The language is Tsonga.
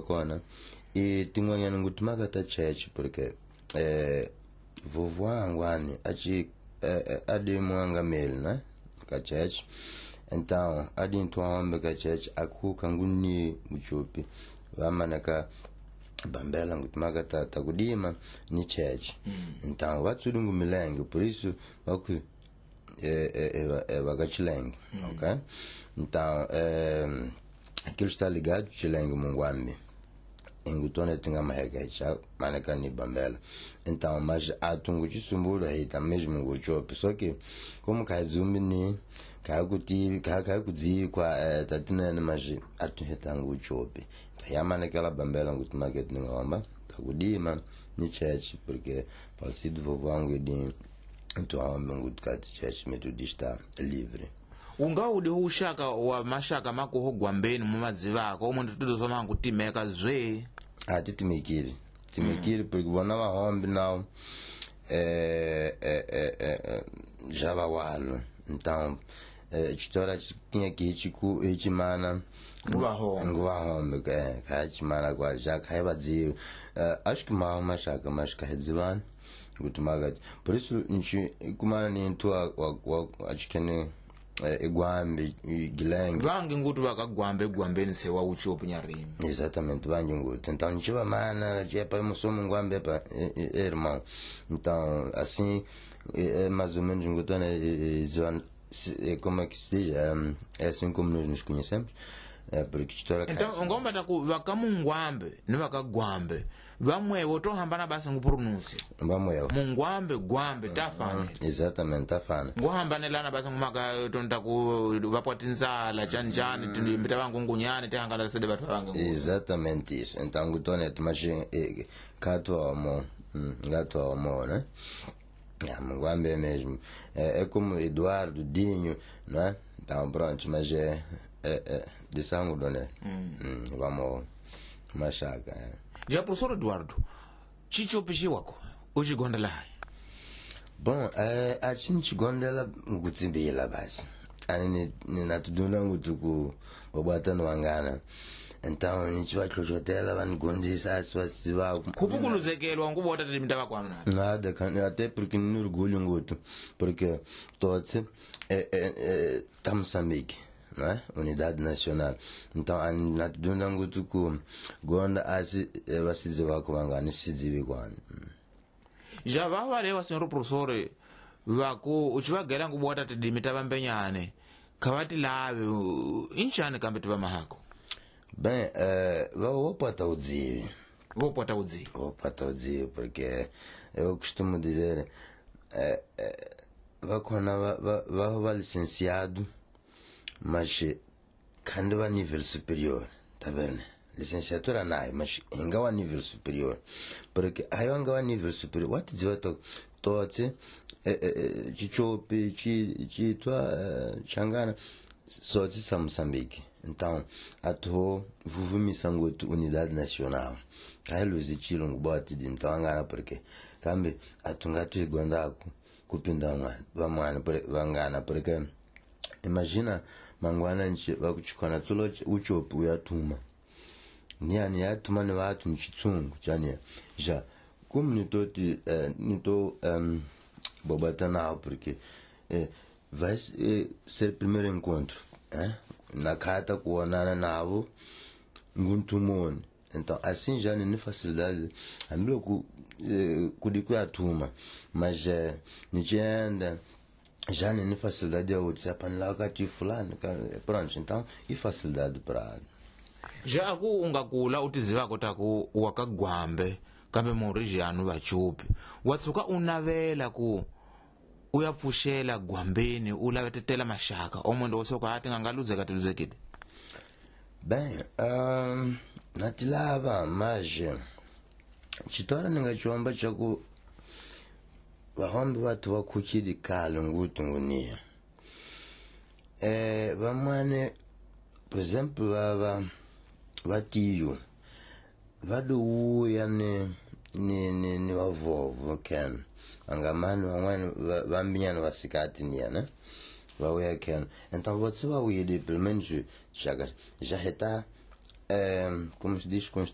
Kona i tin'wanyana ngu timhaka ta church, porque vovó angwani aci adi muangameli, né, ka church. Então adi ntwahombe ka church akhuka nguni muchupi vamanaka bambela ngu timhaka ta kudima ni church. Então vatsudi ngu milenge, por isso vaku vakachilenge. Ok, então aquilo está ligado chilenge mungwambi ingutone tinga maheka cha manaka ni bambela. Então mas atungu chisumbura hita mesmo nguchope, só que como kazumbi ni kakuti kakuzikwa tatinene, mas atuheta nguchope yamanekela bambela nguti market ningomba takudima ni church, porque falecido vovô wangu edi ntuhambe nguti kati church metodista livre. Ungaudi ushaka wa mashaka makuho gwambeni mumadzivako omwe nditudozoma kutimeka zwe? Atitimikiri timikiri, porque vona vahombe nao já vawalo. Então chitora tinha que hichiku hichimana. Nguvahombe. Nguvahombe khachimana kwa já khaivadziwe. Acho que mal mashaka mas khaidzivana kuti makati. Por isso nchi kumana ni ntu achikene igwambi gilenge. Vangi nguti vakagwambe gwambeni sewa uchopu nyarimi. Exatamente, vangi nguti. Então nchiva mana chepa musomo ngwambe pa irmão. Então assim é mais ou menos ngutona como é que se diz, é assim como nós nos conhecemos. Porque história. Então ngomba taku vakamungwambe ni vakagwambe vamwevo tohambana basi ngupronúncia. Vamwevo. Mungwambe gwambe tafana. Exatamente, tafana. Nguhambanelana basi ngumaka tonta ku vapwatinzala chani chani timbita vangungunyani tihangana sede vatu vange. Exatamente isso. Então ngutonet mas katwa omo ngatwa omo, né? É, mungwambe mesmo. É como Eduardo Dinho, não é? Então pronto, mas é de sangue, né? Vamos mashaka. Já professor Eduardo, chichopi wako uchigondela hai? Bom, achini chigondela ngutsimbila basi. Ani ninatudunda ngutuku wabata wangana. Então nichivachochotela vanigondisa asi vasiva. Kupukuluzekelwa ngubota tilimita kwanu nada. Nada, até porque não orgulho ngutu, porque todos tá Moçambique, né? Unidade Nacional. Então natudunda ngutuku gonda asi vasidziva kuvangani sidzivi kwani. Já vavalewa senhor professor vaku uchivagela ngubota tidimita vambenyane khavati lave inchani kambe tiva mahako. Bem, vou udzivi. Vou botar udzivi. Vou botar udzivi, porque eu costumo dizer, vá licenciado, mas quando vai nível superior, tá vendo? Licenciatura não, mas ainda nível superior. Porque aí ainda nível superior, what dizer tote, chichope, chitua, changana, só de Moçambique. Então, atuou vuvumisa ngotu unidade nacional. Aí luzitilo ngubati de então angana porque kambe atungatu igondaku kupinda vamwana vangana, porque imagina mangwana nchi vakuchikwana tulo uchopi uyatuma. Niani yatuma ni watu nchitsungu chani. Já como nito nito bobata nao, porque vai ser primeiro encontro, na carta kuonana navo nguntumoni. Então assim já nem facilidade hambiloko kudikuyatuma, mas nichienda já nem facilidade ya kuti apanila kati fulano pronto. Então e facilidade para já ku ungakula utizivako taku wakagwambe kambe murijanu vachupi watsuka unavela ku uyapfuxela gwambeni ulavetetela maxaka omundu wosoka ati ngangaluzeka tiluzekile. Bem, natilava, mas chitora ningachiwamba chaku vahombe vatu vakuchili kale ngutu ngunia. Vamwane, por exemplo, vava vatiyo vaduuya ni vavovo ken angamani vamwani vambinyana vasikati niya, né? Vauya ken. Então você vai ouvir pelo menos já está como se diz,